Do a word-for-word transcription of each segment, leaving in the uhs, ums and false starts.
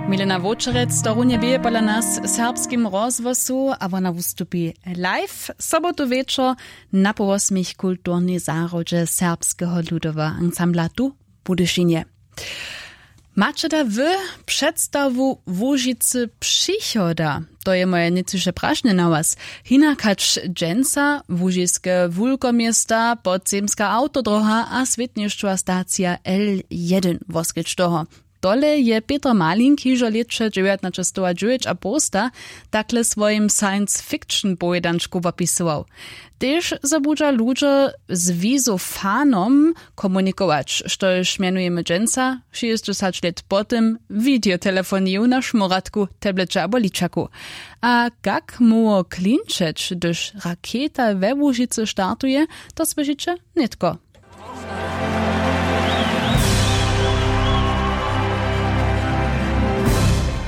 Milena Wočerec to runje bě pola nas w serbskim rozhłosu a wona wustupi live sobotu wječor na połosmich kulturnej zahrodźe serbskeho ludoweho ansambla tu w Budyšinje. Maće da wy předstawu Łužicy přichoda? To je moje nětčiše prašenje na was. Hinak hač dźensa łužiske wulkoměsta, podzemska awtodroha a swětnišćowa stacija L jedyn woskedź toho. Tole je Peter Malink hižo lětše dźewjatnaćestowa dźewjeć a połsta takle w swojim science fiction powědančku wopisował. Tež zo budźa ludźo z wizofanom komunikować, štož mjenujemy dźensa, šěsćdźesać lět po tym, wideotelefoniju na šmóratku, tableće abo ličaku. A kak móhło klinčeć, hdyž raketa we Łužicy startuje, to słyšiće nětko.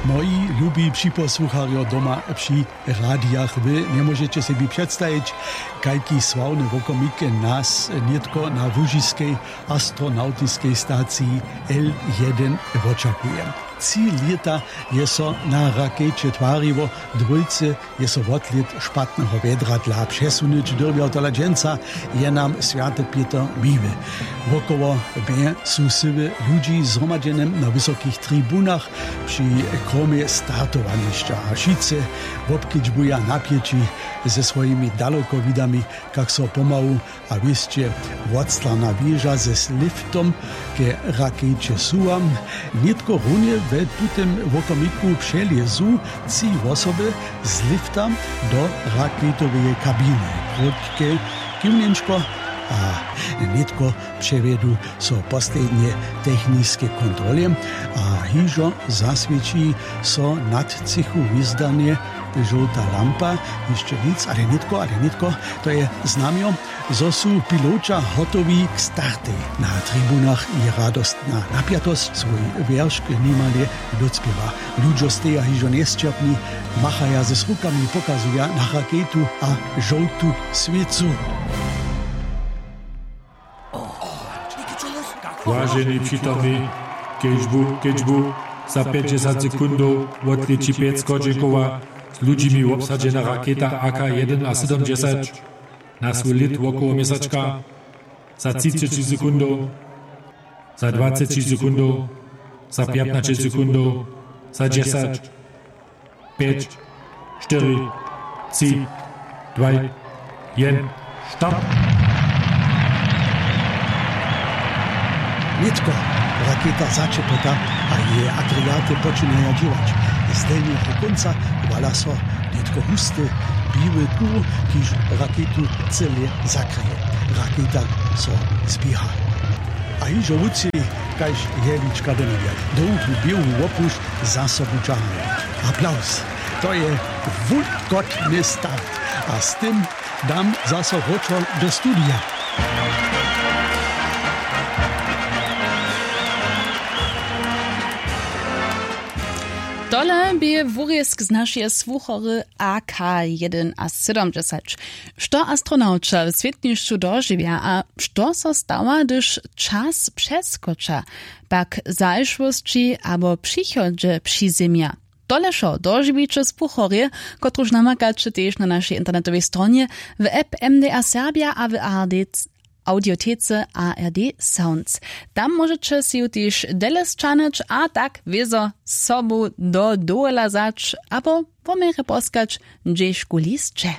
Moji lubi připosłucharjo doma při radijach, wy njemóžeće sebi předstajić, kajki sławne wokomik nas nětko na łužiskej astronawtiskej staciji L jedyn wočakuje. Tři lěta je so na rakeće twariło, dwójce je so wotlět špatneho wjedra dla přesunyć dyrbjał. Tola dźensa je nam swjaty Pětr miły. Wokoło mje su syły ludźi zhromadźene na wysokich tribunach, při kromje startowanišća a wšitcy wobkedźbuja napjeći ze swojimi dalokowidami, kak so pomału a wěsće wotstarna wěža ze liftom ke rakeće suwa. Nětko runje we tutym wokomiku přelězu tři wosoby z lifta do raketoweje kabiny, krótke kiwnjenčko a nětko přewjedu so poslednje techniske kontrole a hižo zaswěći so nad třěchu hwizdanje žołta lampa. Hišće nic, ale nětko, ale nětko, to je znamjo, zo su piloća hotowi k startej. Na tribunach je radostna napjatosć, swój wjeršk nimale docpěwa. Ludźo steja hižo njesćerpni, machaja z rukami, pokazuja na raketu a žołtu swěcu. Waženi přitomni, kedźbu kedźbu za pjećdźesat sekundow wotlěći pjec schodźenkowa z ludźimi wobsadźena raketa A K jedynasydomdźesać na swój lět wokoło měsačka. Za třiceći sekundow, za dwaceći sekundow, za pjatnaće sekundow, za dźesać, pjeć, štyri, tři, dwaj, jen, start. Nětko raketa začepota a jeje agregaty počinaja dźěłać. Z delnjeho kónca wala so nětko husty biły kur, kiž raketu cyle zakryje. Raketa so zběha a hižo wutři, kaž jehlička do njebja. Dołhu běłu wopušć za sobu dźahuje. Aplauz. To je wulkotny start. A z tym dam zaso wróćo do studija. Tole bě wurězk z našeje słuchory A K jedynasydomdźesać. Što astronawća w swětnišću dožiwja a što so stawa, hdyž čas přeskoča, pak w zašłosći abo přichodźe přizemja? Tole wšo dožiwiće w słuchorje, kotruž namakaće tež na našej internetowej stronje, w app M D A Serbia a w A R D audiotece A R D Sounds. Tam móžeće sej ju tež dele sćahnyć a tak wězo sobu do dowola wzać abo po měrje poskać, hdźežkuli sće.